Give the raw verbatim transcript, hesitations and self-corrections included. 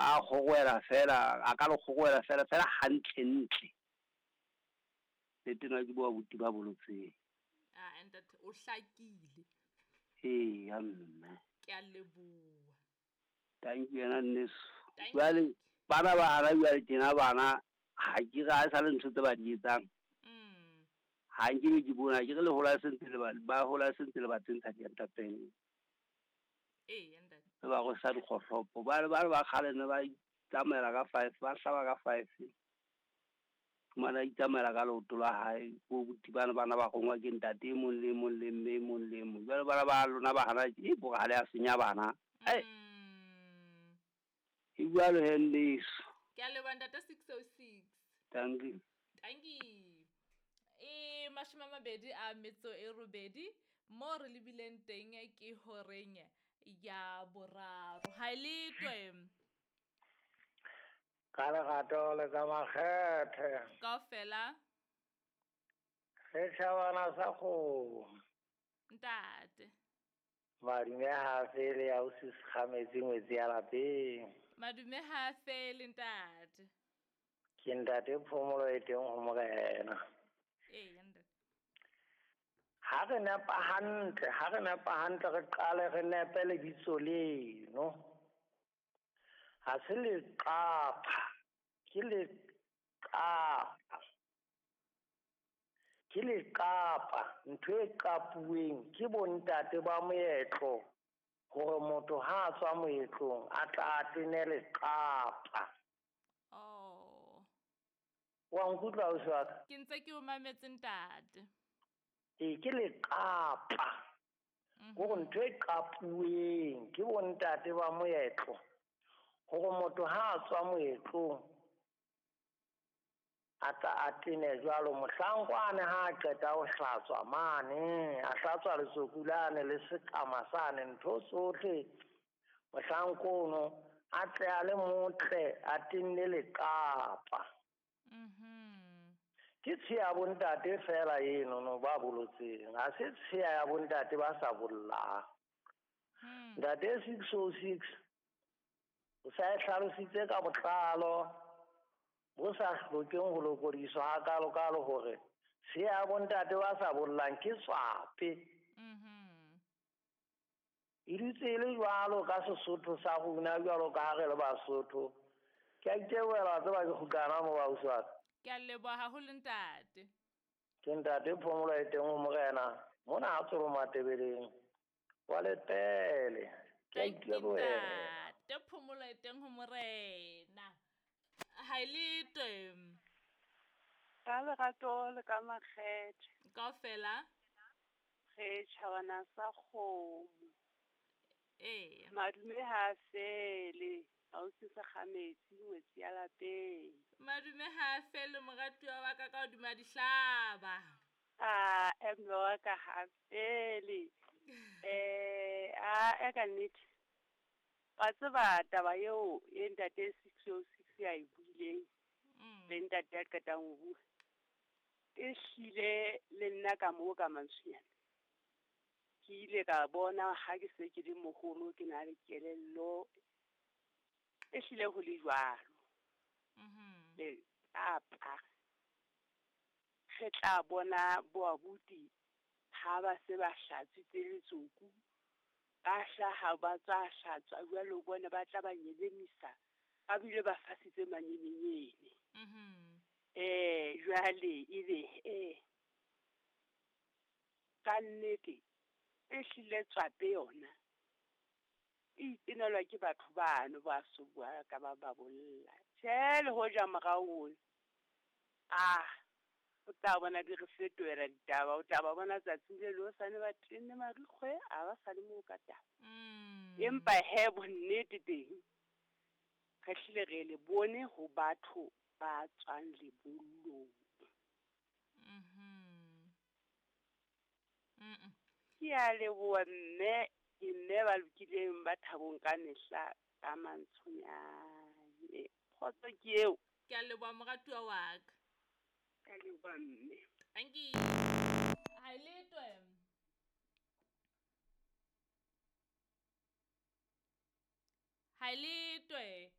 Ba kgorwela fela, a ka le kgorwela fela fela hantle ntle. Le tena ke bo abuti ba bolotseng. Ah, ntate o hlakile. Ee, ya mme. Ke a leboha. Thank you yena nneso. Jwale bana ba hana jwale tjena bana ha ke re ha e sa le ntho tse ba di etsang. Mm. Ha nke be ke bona ke re le hola sentse le ba ba hola sentse le ba tsentsha dientapeng. Ee, ntate. Le ba go sa dikgohlopo ba ba ba kgale ne ba itsamaela ka five, ba hlaba ka five. Fumana itsamaela ka leoto la hae, bo buti bana bana ba rongwa ke ntate e mong le e mong le mme e mong le e mong. Jwale bana ba lona ba hana ke bo ha le a senya bana. Ai. Mm. E jwalo he nneso. Ke a leboha ntate six oh six. Thank you. Thank you. E mashome a mabedi a metso e robedi mo re lebileng teng ke horeng ya boraro. Ha e letwe. Ka lerato le ka makgethe. Kaofela. Re tjhabana sa kgomo. Ntate. Madume ha fele ya o se kgametse ngwetsi ya lapeng. Madume ha fele ntate. Ke ntate Phomolo e teng ho morena. Ee, ntate. Ha re nepa hantle, ha re nepa hantle re qale re nepe lebitso leno. Ha se leqapha, ke leqapa. Ke leqapa, ntho e qapuweng ke bontate ba moetlo hore motho ha a tswa moetlong a tla a tene leqapa. Oh. Wa nkutlwa ausi wa ka? Ke ntse ke o mametse ntate. Ee, ke leqapa. Mhm. Hore ntho e qapuweng ke bontate ba moetlo hore motho ha a tswa moetlong a tla a tene jwalo mohlankwane ha a qeta ho hlatswa mane, a hlatswa letsoku lane le sekama sane ntho tsohle mohlankono a tle a le motle a tenne leqapa. Mhm. Ke tshiya ya bontate fela eno no ba bolotseng, ha se tshiya ya bontate ba sa bollang. Hmm. Ntate six oh six o sa e hlalositse ka botlalo bo sa hlokeng ho lokodiswa hakalo-kalo hore tshiya ya bontate ba sa bollang ke tswape. Mhm. E dutse e le jwalo ka Sesotho sa rona jwalo ka ha re le Basotho. Ke a itebohela wa tseba ke kgutlana mo ausi wa ka. Ke a leboha haholo ntate. Ke ntate Phomolo e teng ho morena mona ha Tsoro Matebeleng wa Lepele. Ke a Thank you, itebohela. ntate Phomolo e teng ho morena. Ha e letwe. Ka lerato le ka makgethe. Kaofela. Re tjhabana sa kgomo. Ee. Madume ha fele. Ausi sa kgametsi ngwetsi ya lapeng. Madume ha fele moratuwa wa ka ka hodima dihlaba. Ah, mme wa ka ha fele. Eh, a e ka nnete. Wa tseba taba eo e ntate six oh six ya e buileng. Mm. Le ntate ya qetang ho bua. E hlile le nna ka moo ka mantswenyana. Ke ile ka bona ha ke se ke le moholo ke na le kelello. E hlile ho le jwalo. Mhm. Le apa. Re tla bona bo abuti ha ba se ba hlatswitse letsoku. Ba hlaha ba tswa hlatswa jwalo bona ba tla ba nyelemisa. Ba bile ba fasitse manyemenyene. Mhm. Eh, jwale ebe eh ka nnete e hlile tswape yona. E itenelwa ke batho bano ba so bua ka ba ba bolla. Tjhe, le hoja morao ole. Ah, o tla bona di re fetohela ditaba, o tla ba bona tsatsing le le hosane ba tenne marikgwe, a ba sa le moo ka taba. Mm. Empa he bonnete teng, re hlile re le bone ho batho ba tswang lebollong. Mhm. Mm-mm. Ke a leboha mme, ke mme ba lokileng ba thabong ka mehla ka mantshonyane. Kgotso ke eo. Ke a leboha moratuwa wa ka. Ke a leboha mme. Thank you. Ha e letwe. Ha e letwe.